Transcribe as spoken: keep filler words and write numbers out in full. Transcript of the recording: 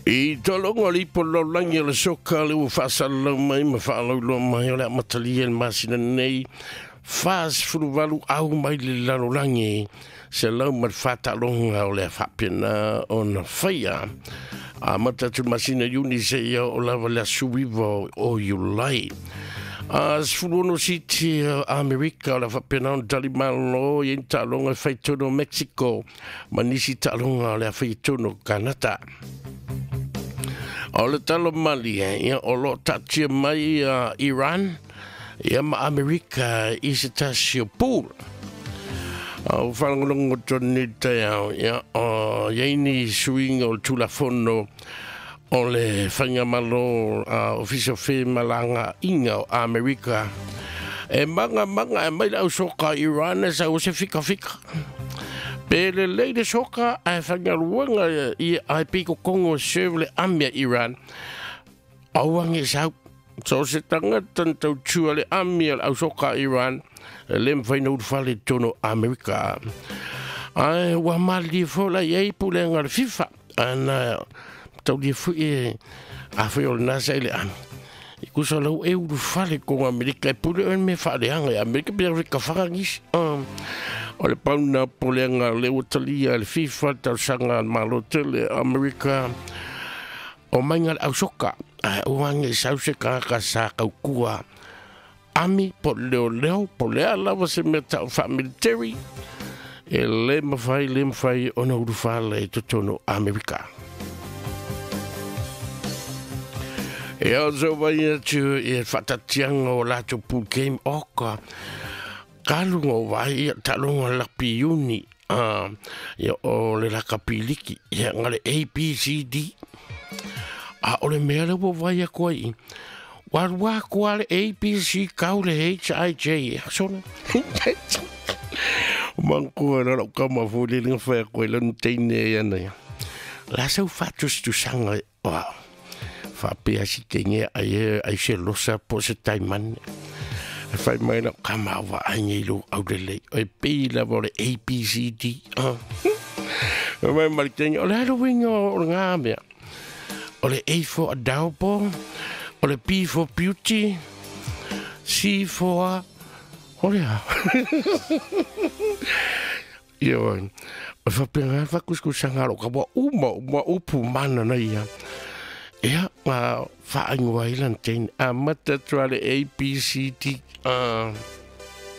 I tologa le ipo lalolagi o le soka le ua faasalalau mai ma faalauiloa mai o le amatalia i le masina nei fasefuluvalu au mai le lalolagi se lau ma le fataaloga o le faapena ona faia amata atu le masina Iuni seia oo lava le aso iva o Iulai. A sefulu ono siti Amerika o le faapena ona tali malo i ai ni taaloga e faitonu o Mexico ma nisi taaloga o le a faitonu o Kanata. O le talo mali ia o loo taatia mai uh, Iran ia ma Amerika i se tasi o pool. O faalogologo tonu i le taeao ia o iai ni suiga o le Tulafono o le Faigamalo a Ofisa o Femalagaaiga o Amerika e magamaga e mai le ausoka Iran e sau se fikafika. Pe lelei le soka ae faigaluega ia ae pei kokogo e serve le ami a Iran. Aua ge sau. So se tagata na tautua le ami a le ausoka Iran e le mafai ona ulufale i totonu o Amerika. Ae ua malilie foi la i ai pulega a le FIFA ana taulia foi e afai o lena sa i le ami. I kusa lau e ulufale i Amerika e pule oe le mea faaleaga i Amerika pe kafaga nisi. O le pauna pulega le ua talia e le FIFA le talosaga a le Malo tele Amerika o maiga le ausoka ae ua age sau se tagata sa kaukua ami po o le leoleo po o le a lava se mea tau faamiliteri e lē mafai lē mafai ona ulufale i totonu o Amerika. E ao sau vai atu i faatatiaga o latou pool game oka kaluga o vai ia taaloga lakapi Iuni ia o le lakapi liki ia ga le A B C D. A o le mea lea ua vai atu ai i ua alu atu lava le A B C kau le H I J sona. O manatua la lau kama foi le na fai atu ai lana teine ai ana ia. La sau faatusatusaga o faapea si teine ai e ai se losa po se taimane. E fai mai lau kama au vaai nei lou aulelei. O e pei lava o le A B C D. Fai mai ma le teine, o le a le uiga o le ngā mea. O le A for adorable, o le B for beauty, C for o le a. Ia oi, o faapena le faakusikusaga a lou kama uma uma upu mana na ia. Ia, ma faaigoa ai lana teine, amata atu lava le A B C D. Uh.